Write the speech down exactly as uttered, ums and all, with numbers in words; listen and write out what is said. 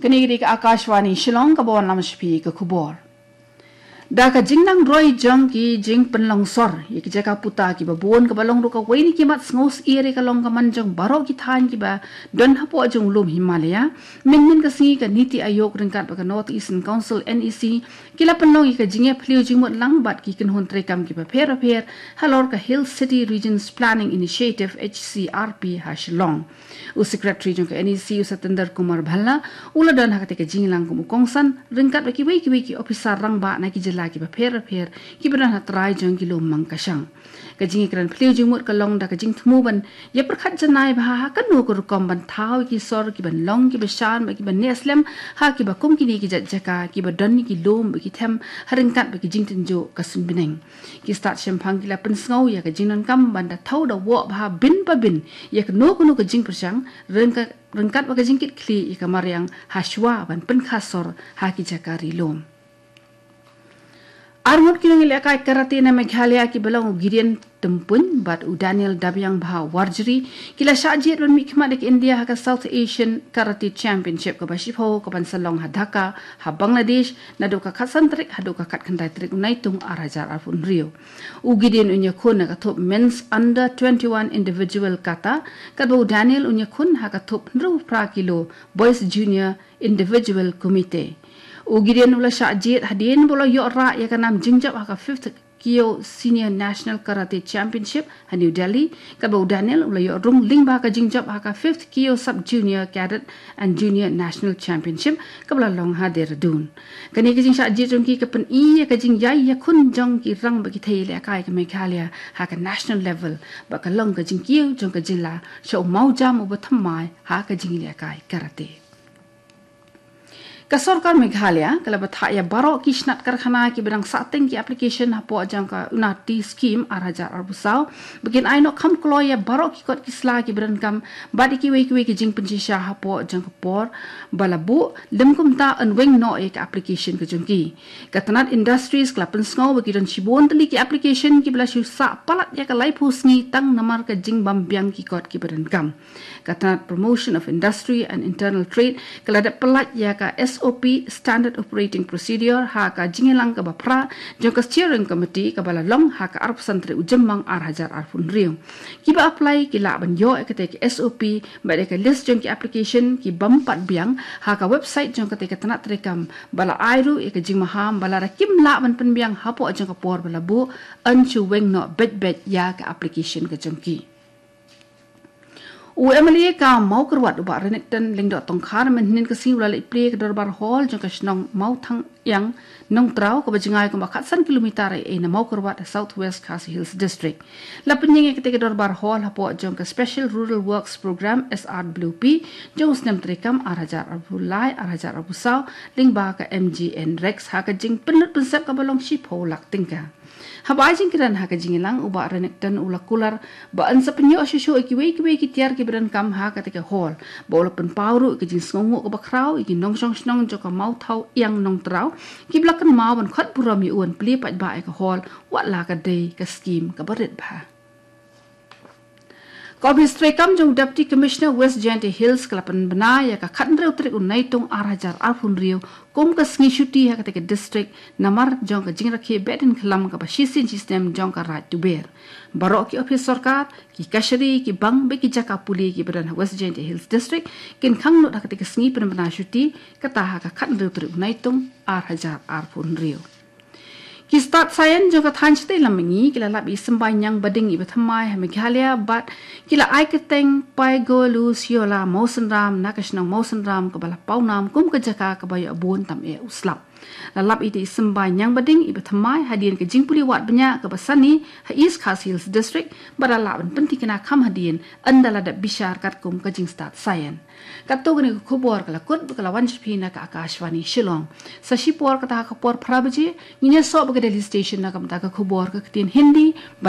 Kane ka dei ka Akashvani Shillong kaba wanlam sha phi ka khubor. Da ka jingnang roi jong ki jingpynlong sor ïa ki jaka puta kiba bun, kaba long ruh kawei na ki mat sngewsih ïa ka long ka man jong baroh ki thaiñ kiba don hapoh jong u lum Himalaya, mynhynnin ka sngi ka NITI Aayog ryngkat bad ka North Eastern Council, NEC, ki la pynlong ïa ka jingïaphylliew jingmut lang bad ki kynhun treikam kiba pher bapher halor ka Hill City Regions Planning Initiative, HCRP, ha Shillong. U Secretary jong ka NEC, u Satinder Kumar Bhalla, u la don ha katei ka jingïalang kum u kongsan ryngkat bad kiwei kiwei ki ophisar rangbah na ki jylla kiba pher bapher kiba don ha trai jong ki lum Mangkashang. Ka jingïakren phylliew jingmut ka long da ka jingthmu ban ïapyrkhat janai bha ha kano ka rukom ban thaw ïa ki sor kiban long kiba shan bad kiban neh slem ha kiba kum kine ki jait jaka kiba don ïa ki lum bad ki them ha ryngkat bad ki jingtynjuh ka suiñbneng. Ki stad shemphang ki la pynsngew ïa ka jingdonkam ban da thaw da woh bha bin pa bin ïa kano kano ka jingpyrshang ryngkat, ryngkat bad ka jingkitkhlieh ïa ka mariang ha shuwa ban pynkha sor ha ki jaka ri lum. Arngut ki nongïalehkai karate na Meghalaya kiba long u Gideon Tympuin bad u Daniel Dabiangbha Warjri ki la shah jied ban mihkhmat ïa ka India ha ka South Asian Karate Championship kaba shiphew kaban sa long ha Dhaka, ha Bangladesh, naduh ka khatsan tarik haduh ka khatkhyndai tarik u Naitung ar hajar arphew hynriew. U Gideon un ïakhun ha ka thup Men's Under twenty-one Individual Kata, katba u Daniel un ïakhun ha ka thup hynriew phra kilo Boys Junior Individual Kumite. U Gideon u la shah jied hadien ba u la ïoh rah ïa ka nam jingjop ha ka fifth Kyo Senior National Karate Championship ha New Delhi, katba u Daniel u la ïoh rung lyngba ka jingjop ha ka fifth Kyo Sub Junior Cadet and Junior National Championship kaba la long ha Dehradun. Kane ka jingshah jied jong ki ka pyni ïa ka jingïai ïakhun jong ki rangbah ki thei ïalehkai ka Meghalaya ha ka national level, bad ka long ka jingkiew jong ka jylla sha u mawjam uba thymmai ha ka jingïalehkai karate. Ka sorkar Meghalaya ka la bthah ïa baroh ki shnat karkhana kiba dang sahteng ki application hapoh jong ka Unnati Scheme ar hajar arphew saw ba kin ai noh kham kloi ïa baroh ki kot ki sla kiba donkam bad ïa kiwei kiwei ki jingpynshisha hapoh jong ka por ba la buh, lym kumta yn weng noh ïa ka application ka jong ki. Ka tnat Industries ka la pynsngew ba ki don shibun tylli ki application kiba la shu sah palat ïa ka laiphew sngi tang namar ka jingbym biang ki kot kiba donkam. Ka tnat Promotion of Industry and Internal Trade ka la dep pyllait ïa ka SOP, Standard Operating Procedure, ha ka jingïalang kaba phra jong ka Steering Committee kaba la long ha ka arphew san tarik u Jymmang ar hajar arphew hynriew. Kiba apply ki lah ban ïoh ïa katei ka SOP bad ïa ka list jong ki application kibym pat biang ha ka website jong katei ka tnat treikam, ba la ai ruh ïa ka jingmaham ba lada kim lah ban pynbiang hapoh jong ka por ba la buh, yn shu weng noh beit beit ïa ka application ka jong ki. U MLA ka Mawkyrwat u Bah Renikton Lyngdoh Tongkhar mynhynnin ka sngi u la leit plie ïa ka dorbar hall jong ka shnong Mawthangiang Nongtraw kaba jngai kumba khatsan kilometer ei ei na Mawkyrwat ha South West Khasi Hills District. La pynïeng ïa katei ka dorbar hall hapoh jong ka Special Rural Works Programme, SRWP, jong u snem treikam ar hajar arphew lai ar hajar arphew saw lyngba ka MGNREGS ha ka jingpynlut pynsep kaba long shiphew lak tyngka. Haba ai jingkren ha ka jingïalang, u Bah Renikton u la kular ba yn sa pynïoh shuh shuh ïa kiwei kiwei ki tiar kiba donkam ha katei ka hall, ba u la pynpaw ruh ïa ka jingsngewnguh kaba khraw ïa ki nongshong shnong jong ka Mawthangiang Nongtraw kiba la kynmaw ban khot burom ïa u ban plie paidbah ïa ka hall, wat la ka dei ka skhim kaba rit bha. Ka Ophis Treikam jong u Deputy Commissioner West Jaintia Hills ka la pynbna ïa ka khathynriew tarik u Naitung ar hajar arphew hynriew kum ka sngi shuti ha katei ka district namar jong ka jingrakhe behdeiñkhlam kaba shisien shisnem jong ka Raid Tuber. Baroh ki ophis sorkar, ki kashari, ki bank bad ki jaka pule kiba don ha West Jaintia Hills District kin khang lut ha katei ka sngi pynbna shuti, kata ha ka khathynriew tarik u Naitung ar hajar arphew hynriew. Ki stad saian jong ka thaiñ shatei lam mihngi ki la lap ïa i symbai ñiang bading iba thymmai ha Meghalaya bad ki la ai kyrteng Paigolusiola Mawsynram na ka shnong Mawsynram kaba la pawnam kum ka jaka kaba ïoh bun tam eh u slap. La lap ïa i symbai ñiang bading iba thymmai hadien ka jingpule wad bniah kaba sani ha East Khasi Hills District bad la lah ban pynthikna kham hadien ynda la dep bishar katkum ka jingstad saian. Katto katne ka khubor ka la kut bad ka la wan sha phi na ka Akashvani Shillong. Sa shipor kata ha ka por phra baje ngin ïasoh bad ka Delhi Station na ka bynta ka khubor ka ktien Hindi.